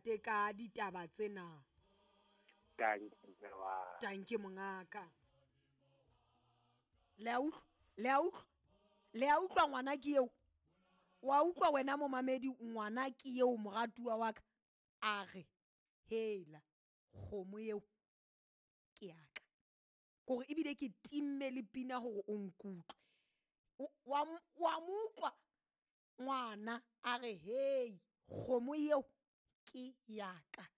ntate ka ditaba tsena. Dankie mme wa. Dankie mongaka. Le a utlwa? Le a utlwa? Le a utlwa ngwana ke eo? Wa utlwa wena momamedi ngwana ke eo moratuwa wa ka? A re, hela, kgomo eo ke ya ka. Kore ebile ke timme le pina hore o nkutlwe. Wa mo utlwa ngwana a re, hei, kgomo eo ke ya ka.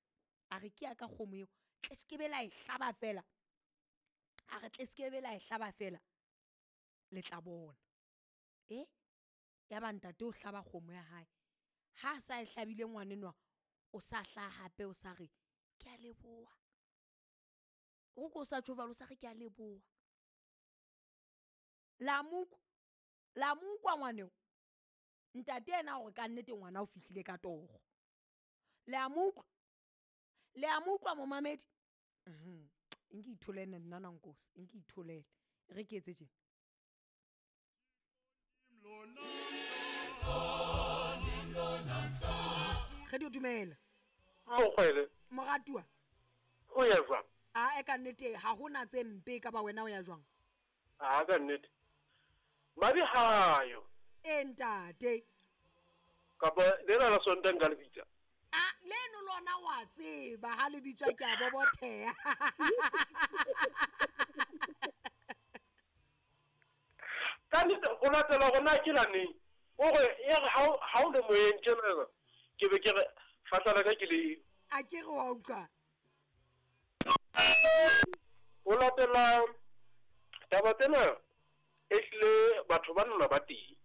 A re ke ya ka kgomo eo. Tle se ke be la e hlaba fela. A re tle se ke be la e hlaba fela. Le tla bona. E? Ya ba ntate o hlaba kgomo ya hae. Ha sa e hlabile ngwanenwa, o sa hlaha hape o sa re, ke a leboha. O ko sa tjho jwalo, o sa re ke a leboha. La mo utlwa? La mo utlwa ngwaneo? Ntate yena hore ka nnete ngwana o fihlile ka toro. Le a mo utlwa? Le a mo utlwa momamedi? Nke itholele nna na nkosi, nke itholele. Re ke etse tjena. Re di dumela. Mokgwele. Moratuwa. O ya jwang? A e ka nnete ha hona tse mpe ka ba wena o ya jwang? A ka nnete. Madi hayo. E ntate. Kapa lena la Sontaha nka le bitsa. A leno lona wa tseba ha le bitswa ke a bobotheha. Ka nnete o latela hore na ke la neng. O re ya re ha o le moyeng tjena ke be ke re fatla ka ke le. A ke re wa utlwa. O latela taba tsena e hlile batho ba nna ba teng.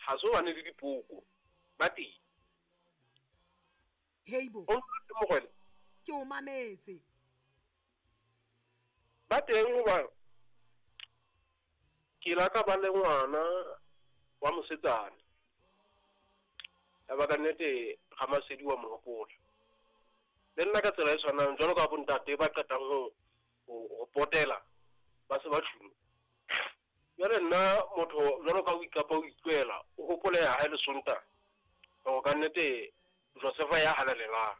Ha so bane le dipoko ba teng. Heibo. O mogwele. Ke o mametse. Ba teng hoba ke la ka ba le ngwana wa mosetsana. Ya ba ka nnete ga Masedi wa mohopola. Le nna ka tsela e tshwanang jwalo ka bontate ba qetang ho potela ba se ba tjhuma. Jwale nna motho jwalo ka o ikapa o itlwela o hopole ya hae le Sontaha. Hore ka nnete Josefa ya halalelang.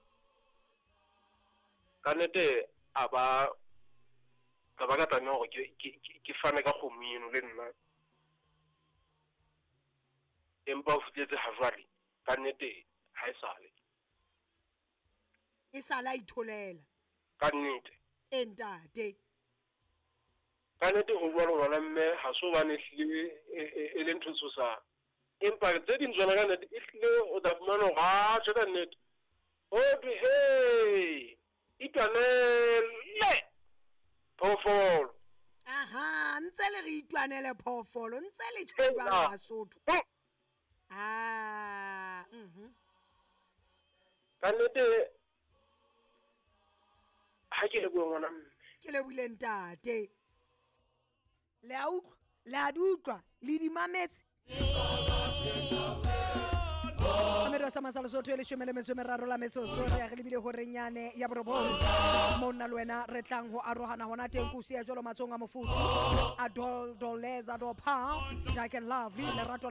Ka nnete a ba ka ba ka tlameha hore ke fane ka kgomo eno le nna. Empa o fihletse ha jwale ka nnete ha e sale. E sala itholela. Ka nnete. E ntate. Ka nnete ho jwalo ngwana mme ha so bane hlile e le ntho tshosang. Empa tse ding tsona ka nnete e hlile o tla fumana hore ha tjhe ka nnete. O thwe he itwanele phoofolo. Aha, ntse le re itwanele phoofolo, ntse le tjho jwalo Basotho. Ah, Ka nnete ha ke lebohe ngwana mme. Ke lebohile ntate. Le a utlwa, le a di utlwa, le di mametse. Mamedi wa sa Masala Sotho e leshome le metso e meraro la metsotso re ya re lebile horeng yane ya borobong. Mo nna le wena re tlang ho arohana hona teng ko siya jwalo matsohong a mofuthu. A dol doleza do pa, dark and lovely, lerato la